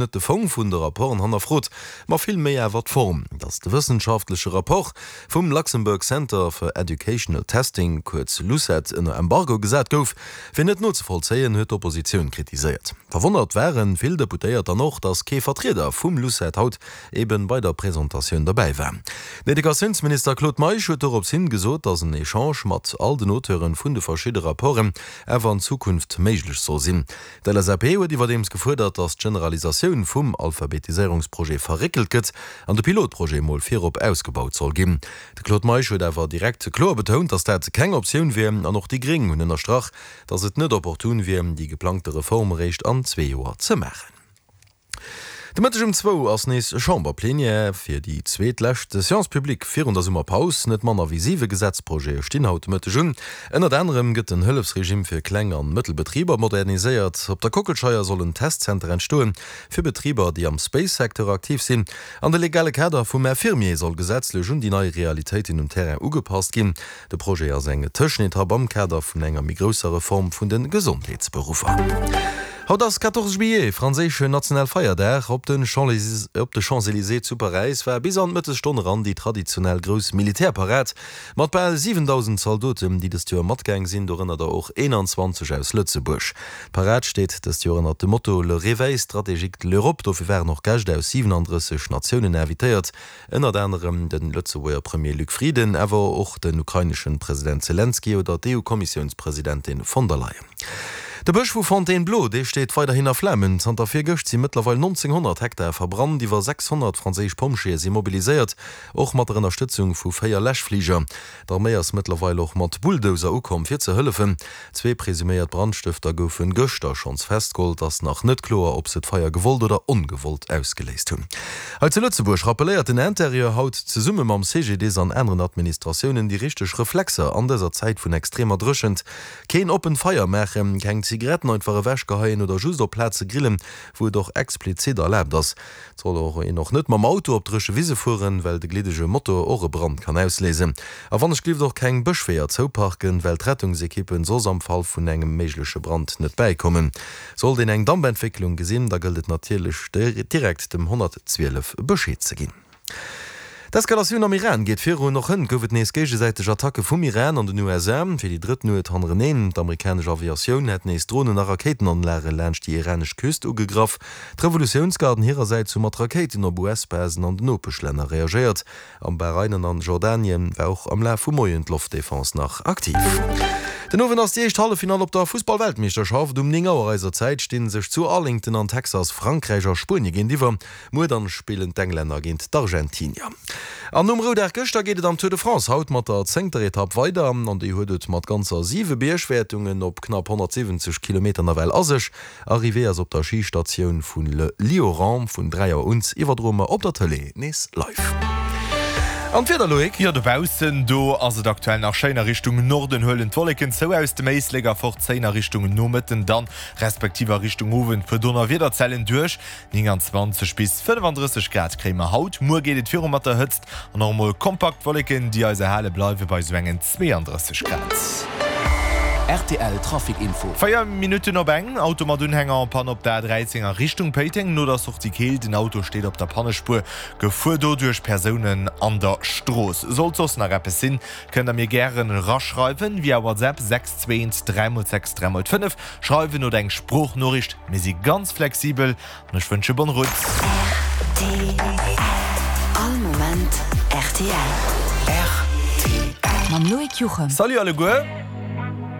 Net de Fong vun de Rapporten hannerfrot, ma vill méi awer d'Form, datt de wëssenschaftleche Rapport vum Luxembourg Center for Educational Testing, kuerz LUCET, ënner Embargo gesat gouf, wier net nozevollzéien, huet d'Oppositioun kritiséiert. Verwonnert ware vill Deputéiert dann och, datt kee Vertrieder vum LUCET haut eben bei der Presentatioun derbäi war. Den Educatiounsminister Claude Meisch huet dorops hin gesot, datt en Echange mat all den Auteuren vun de verschidde Rapporten awer an Zukunft méiglech soll sinn. D'LSAP huet iwwerdeems gefuerdert, datt d'Generalisatioun vum Alphabetiséierungsprojet verréckelt gëtt an de Pilotprojet mol virop ausgebaut soll ginn. De Claude Meisch huet awer direkt kloer betount, datt dat keng Optioun wier an och déi Gréng hunn ënnerstrach, datt et net opportun wier, déi geplangte Reform eréischt an zwee Joer ze maachen. De Mëtteg um zwou ass nees Chamberplenière fir déi zweet lescht Séance publique virun der Summerpaus. Net manner wéi siwe Gesetzprojete stinn haut de Mëtteg un. Ënnert anerem gëtt den Hëllefsregime fir Kleng an Mëttelbetriber moderniséiert. Op der Kockelscheier soll en Testzenter entstoen fir Betriber, déi am Space-Secteur aktiv sinn. An de legale Kader vum Infirmier soll gesetzlech un déi nei Realitéiten um Terrain ugepasst ginn. De Projet ass eng Tëschenetapp am Kader vun enger méi grousser Reform vun de Gesondheetsberuffer. Haut ass 14 juillet, franséischen Nationalfeierdag. Op de Champs-Elysées zu Paräis war bis an d'Mëttesstonn eran déi traditionell grouss Militärparad mat bal 7.000 Zaldoten, déi dëst Joer matgaang sinn, dorënner der och 21 aus Lëtzebuerg. D'Parad steet dëst Joer ënnert dem Motto Le réveil stratégique de l'Europe. Dofir waren och Gäscht aus 37 Natiounen invitéiert. Ënnert anerem de Lëtzebuerger Premier Luc Frieden, awer och den ukraineschen President Zelenskyj oder d'EU-Kommissiounspresidentin von der Leyen. De Bësch vu Fontainebleau, dee steet weiderhin a Flamen. Zanter virgëscht si mëttlerweil 1.900 Hektar verbrannt. Iwwer 600 franséisch Pompjeeë si mobiliséiert, och mat der Ënnerstëtzung vu 4 Läschfliger. D'Arméi ass mëttlerweil och mat Bulldozer ukomm, fir ze hëllefen. Zwee presuméiert Brandstëfter goufen gëschter schonns festgeholl. Et ass nach net kloer, ob se d'Feier gewollt oder ongewollt ausgeléist hunn. Hei zu Lëtzebuerg rappelléiert den Interieur haut zesumme mam CGDIS an aneren Administratiounen déi richteg Reflexer an dëser Zäit vun extremer Dréchent. Keen oppent Feier maachen, keng Zigaretten einfach ewechgeheien oder just op Plaze grillen, wou et och explizit erlaabt ass. Et soll och een och net mam Auto op dréche Wise fueren, well de gliddege Motor och e Brand kann ausléisen. A wann ech glift och keng Bëschweeër zouparken, well d'Rettungsekippen soss am Fall vun engem méigleche Brand net bäikommen. Sollt een eng Dampentwécklung gesinn, da gëllt et natierlech direkt dem 112 Bescheed ze ginn. D'Eskalatioun am Iran geet virun. Och hënt gouf et nees géigesäiteg Attacke vum Iran an den USA. Fir déi drëtt Nuet hannereneen. D'amerikanesch Aviatioun hätt nees Dronen a Rakéitenanlage laanscht déi iranesch Küst ugegraff. D'Revolutiounsgarden hirersäits hu mat Rakéiten op US-Basen an den Nopeschlänner reagéiert. Am Bahrain an an Jordanien war och am Laf vum Moien d'Loftdefense nach aktiv. Den Owend ass déi éischt Halleffinall op der Fussball-Weltmeeschterschaft. Um 9 Auer eiser Zäit sti sech zu Arlington an Texas Frankräich a Spuenie géintiwwer. Muer dann spillen d'Englänner géint d'Argentinier. An nom Roudag gëschter geet et am Tour de France haut mat der zéngter Etapp weider. An déi huet et mat ganzer 7 Biergwäertungen op knapp 170 Kilometer nawell a sech. Arrivée ass op der Schistatioun vu Le Lioran. Vun 3 Auer un iwwerdroe mer op der Tëlee nees live. An d'Wieder, Loïc? Jo, dobaussen do ass et aktuell nach schéin. A Richtung Norden huelen d'Wolleken zou aus dem Éislek a fort zéien a Richtung Nomëtten dann, respektiv a Richtung Owend puer Donnerwiederzellen duerch. 29 bis 35 Grad kréie mer haut. Muer geet et viru mat der Hëtzt an och emol kompakt Wolleken, déi eis erhale bleiwe bei sou engen 32 Grad. Rtl Trafic Info. 4 Minutten op eng, Auto mat Unhänger en panne op der A13 a Richtung Péiteng no der Sortie Keel. Den Auto steet op der Pannespuer, Gefuer doduerch Persounen an der Strooss. Sollt soss nach eppes sinn, kënnt der mir gären eraschreiwen via WhatsApp 6 2 1 3 x 6 3 x 5. Schreiwen oder eng Sproochnoriicht, mir si ganz flexibel an ech wënsche bonne route. Rtl All Moment rtl. Rtl. Mam Loïc Juchem. Salut alleguer!